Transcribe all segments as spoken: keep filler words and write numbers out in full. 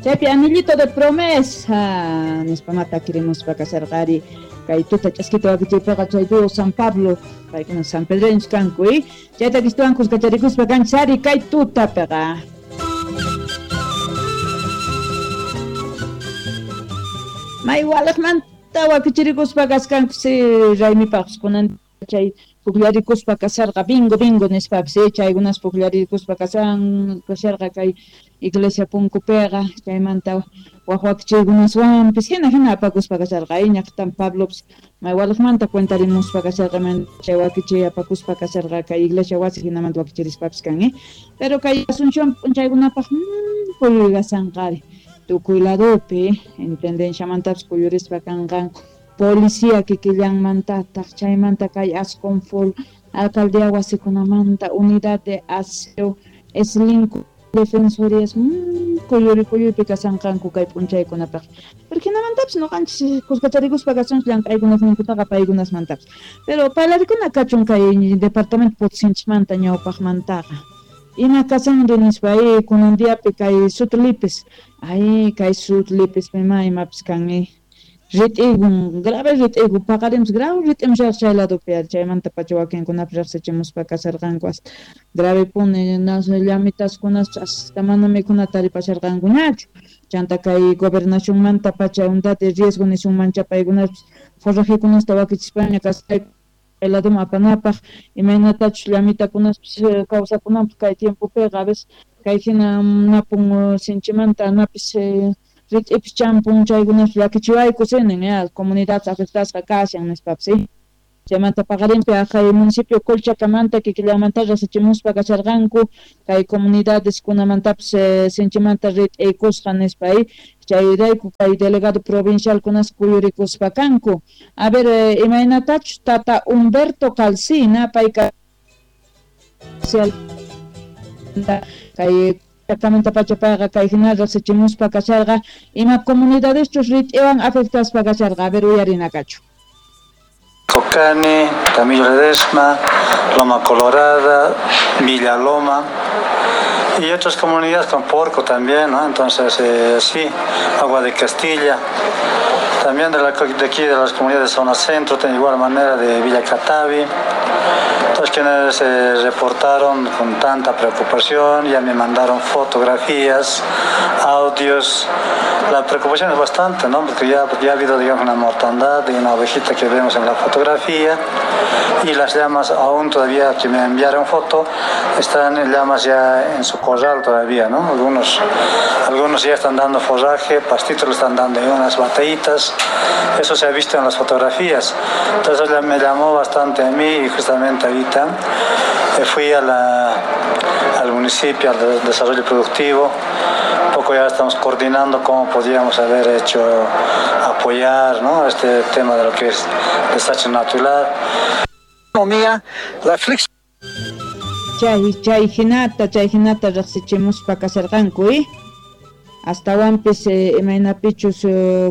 Chaypi anillito de promesa nispa matakirimuspa kasharqari kay tuta ch'askita wakichiypiqa chay dúo San Pablo paykuna San Pedreños kanku y chayta kistuwan kuskacharikuspa kanchari kay tutapiqa. May walaqmanta wakichirikuspa kaskanku si raymipaqpis kunan chay pukllarikuspa kasharqa bingo bingo nispapis chaykunas pukllarikuspa kasan kasharqa kay iglesia punkupiqa chaymanta wak wakichiykunaswanpis hina hina apakuspa kasharqa ñaqtan Pablopis may walaqmanta cuentarimuspa kasharqa chay wakichiy apakuspa kasharqa kay iglesia wasi hinamanta wakichirispapis kan eh pero kay Asunción p'unchaykunapaq kuyuykasanqari tukuy ladopi intendenciamantapis kuyurispa kanqanku policía kikillanmantataq chaymanta kay Asconfol alcaldía wasikunamanta unidad de aseo eslinku defensorías kuyuri kuyuypi kasanqanku kay p'unchaykunapaq pero hinamantapis ñuqanchis kuskacharikuspa kasunchis llank'aykunasninkutaqa paykunasmantapis pero parlarikuna kachun kay departamento Potosinchismanta ñawpaqmantaqa ima kasanri nispa ay kunan diapi kay Sutlipis ay kay Sutlipis ima imapis kan rit'igun grave rit'igu paqarimus grave rit'imushaq chay ladopi chaymanta pacha wakinkunapis riqsichimuspa kasharqanku hasta grave puni llamitaskunas hasta mana mikhunata taripasharqankuñachu chanta kay gobernacionmanta pacha unidad de riesgo nisunmancha paykunapis forrajekunasta wakichispaña kasqayku kay ladoman apanapaq imaynatachus llamitakunaspis kawsakunanpaq kay tiempopiqa a veces kay hina napun sinchimanta napis rit'ipis champun chaykunas llakichiwayku sinin ya comunidad afectasqa kashan nispapis chaymanta paqarinpi aqhay municipio Colchacamanta kikillamanta riqsichimuspa kasharqanku kay comunidades kunamantapis sinchimanta rit'iykusqa nispa chayrayku kay delegado provincial kunas kuyurikuspa kanku a ver imaynatachus tata Humberto Calcina payka kay exactamente pacha payqa kay hina riqsichimuspa kasharqa ima comunidades rit'iwan afectaspa kasharqa a ver uyarinakachu. Cocani, Camilo Ledesma, Loma Colorada, Villa Loma y otras comunidades con Porco también, ¿no? Entonces, eh, sí, Agua de Castilla, también de, la, de aquí de las comunidades de Zona Centro, de igual manera de Villa Catavi. Entonces, quienes se eh, reportaron con tanta preocupación, ya me mandaron fotografías, audios. La preocupación es bastante, ¿no? Porque ya, ya ha habido, digamos, una mortandad de una ovejita que vemos en la fotografía y las llamas aún todavía que me enviaron foto, están en llamas ya en su corral todavía, ¿no? Algunos, algunos ya están dando forraje, pastitos le están dando en unas batallitas, eso se ha visto en las fotografías. Entonces me llamó bastante a mí y justamente ahorita fui a la, al municipio, al desarrollo productivo. Poco ya estamos coordinando cómo podíamos haber hecho apoyar, ¿no?, este tema de lo que es desastre natural. La flex chay chay hinata chay hinata riqsichimuspa kasharqanku eh astawanpis imaynapichus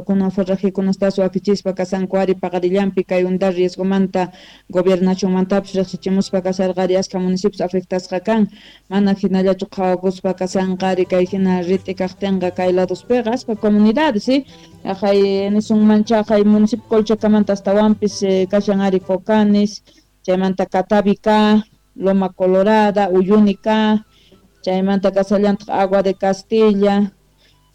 kunan forrajekunastas wakichispa kasanku ari paqarillanpi kay unidad riesgomanta gobernacionmantapis riqsichimuspa kasharqari ashka municipios afectasqa kan mana hinallachu qhawakuspa kasanqari kay hina rit'i kaqtinqa kay ladospiqa ashka comunidades eh aqhay nisunmancha aqhay municipio Colchacamanta astawanpis kashan ari Cocanes chaymanta Catavica, Loma Colorada, Uyunica, chaymanta kasallantaq Agua de Castilla,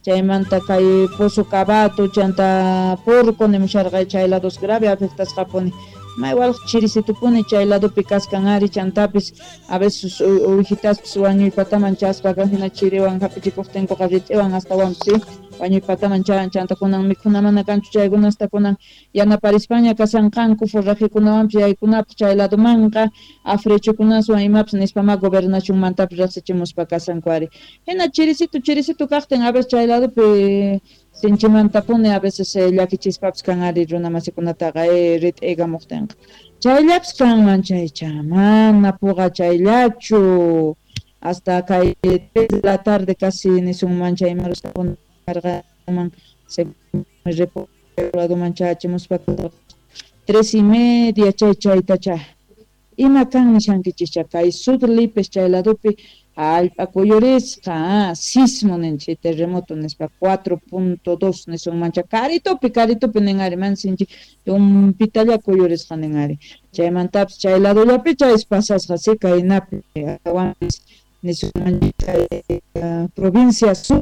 chaymanta kay Pozo Cabato, chanta Porco nimusharqa chay lados grave afectasqapuni may walaq chirisitupuni chay ladopi kaskan ari chantapis a veces uwihitaspis wañuypataman chaspaqa hina chiriwan hapichikuqtinkuqa rit'iwan astawanpis wañuypataman chan chanta kunan mikhuna mana kanchu chaykunasta kunan yanaparispaña kasanqanku forrajekunawanpis yaykunapaq chay ladomanqa afrechukunaswan imapis nispama gobernacionmantapis riqsichimuspa kasanku ari hina chirisitu chirisitu kaqtin a veces chay ladopi sinchimantapuni a veces llakichispapis kan ari runa masikunataqa eh, rit'igamuqtinqa chayllapis kanman chaycha mana puqa chayllachu hasta kay tres de la tarde casi nisunman chay imarusman se ladoman chachimuspa tres y media chay chaytacha Ima kan nishankichischa kay Sud Lipes chay ladopi hallp'a kuyurisqa, sismo ninchik, terremoto nispa cuatro punto dos nisunmancha karitupi karitupi nin ari man sinchi tumpitalla kuyurisqa nin ari chaymantapis chay ladollapi chaysi pasasqa si kaynapi awanpis nisunmancha kay provincia Sur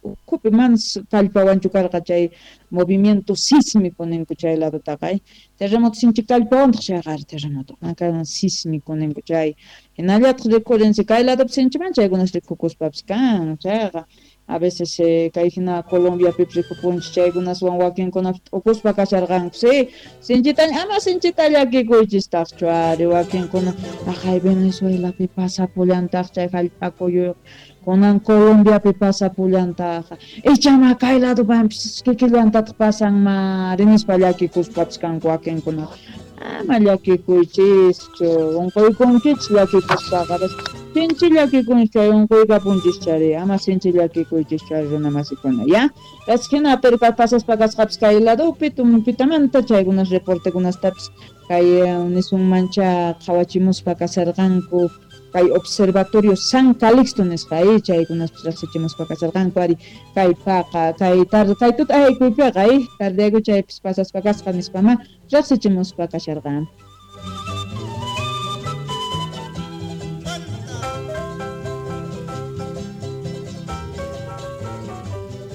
ukhupi manas kallpawanchu karqa chay movimiento sísmico ninku chay ladotaqa terremoto sinchi kallpawantaq chayqa ari terremoto sísmico ninku chay hinallataq rikurinsi kay ladopi sinchiman chaykunas rikukuspapis kan chayqa a veces kay hina Colombiapipis rikupunchik chaykunaswan wakinkunapi t'ukuspa kasharqanku si sinchita ama sinchita llakikuychistaqchu ari wakinkuna aqhay Venezuelapi pasapullantaq chay hallp'a kuyuyqa kunan Colombiapi pasapullantaq ichama kay ladopanpis kikillantataq pasanmari nispa llakikuspapis kanku wakinkuna ama llakikuychischu unquykunkichis llakikuspaqa sinchi llakikunchis chay unquykapunchis chari ama sinchi llakikuychischu ari runa masikuna ya hina pero pasaspa kasqapis kay ladopi tumpitamanta chaykunas reportekunastapis kay nisunmancha qhawachimuspa kasarqanku kay Observatorio San Calixto nisqa chaykunaspis riqsichimuspa kasarqanku ari kay paqa kay tarde kay tuta aykuypiqa tardeyku chaypis pasaspa kasqa nispama riqsichimuspa kasharqan.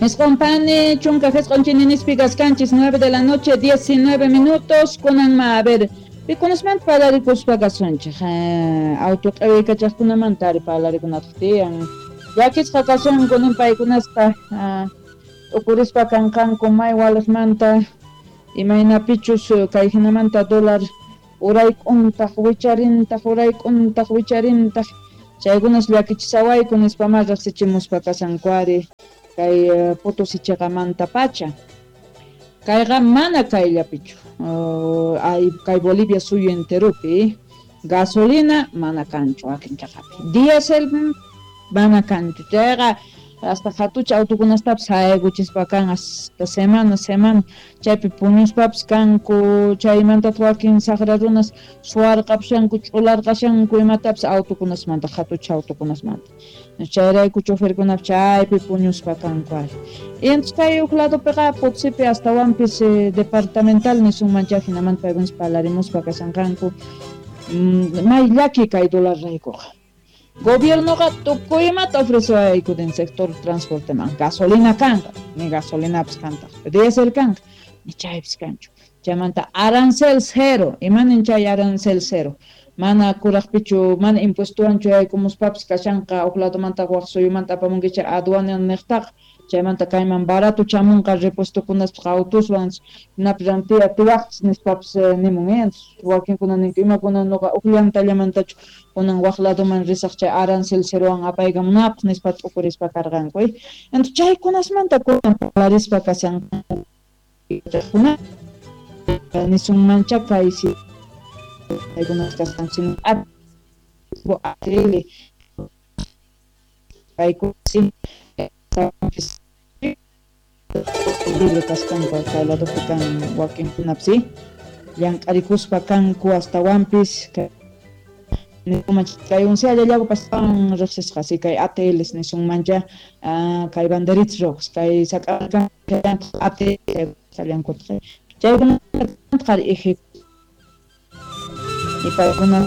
Escompane, chunka jesqonchininispi kaskanchis, nueve de la noche, diecinueve minutos, kunanma, a ver, pikunasmanta parlarikuspa kasunchik, auto q'iwikachaqkunamanta ari parlarikunataq tiyan, llakisqa kasunku nin paykunasqa t'ukurispa kanqanku may waliqmanta imaynapichus kay hinamanta dólar urayk'untaq wicharintaq urayk'untaq wicharintaq chaykunas llakichisawayku nispama riqsichimuspa kasanku ari kay Potosí chiqamanta pacha kayqa mana kayllapichu ay kay Bolivia suyu enteropi gasolina mana kanchu wakin chaqapi diésel mana kanchu chayqa hasta hatucha autokunastapis haykuchispa kan hasta semana semana chaypi puñuspapis kanku chaymantataq wakin saqra runas suwarqapushanku ch'ularqashanku imatapis autokunasmanta hatucha autokunasmanta chayrayku choferkunapis chaypi puñuspa kanku ari entonces kay huk ladopiqa Potosipi astawanpis departamental nisunmancha hinamanta paykunas parlarimuspa kashanqanku may llaki kay dólar raykuqa Gobiernoqa tukuy imata ofrecewayku del sector transporteman gasolina kanqa ni gasolinapis kantaq diésel kanqa ni chaypis kanchu chaymanta arancel cero imanin chay arancel cero mana kuraqpichu mana impuestowanchu yaykumuspapas kashanqa huk ladomanta waq suyumanta apamunkichik aduana niqtaqa chaymanta kayman barato chamunqa repuestokunaspas autoswan hinapi rantiya atiwaqchis nispapas nimun wakinkuna ninku imakuna nuqa huk llantallamantachu kunan waq ladoman risaq chay arancel cerowan apaykamunapaq nispa t'ukurispa karqanku entonces chaykunasmanta kunan parlarispa kashanqanku nisunmancha kay paykunas kasqanku atl paykuna libre kasqanku kay ladopi kan wakinkunapis llank'arikuspa kanku astawanpis kay once llallakupas riqsisqa si kay A T Ls nisunmancha kay banderitas rojas kay sak'arkan A T L sallankutaq chaykunata qari eje y paykuna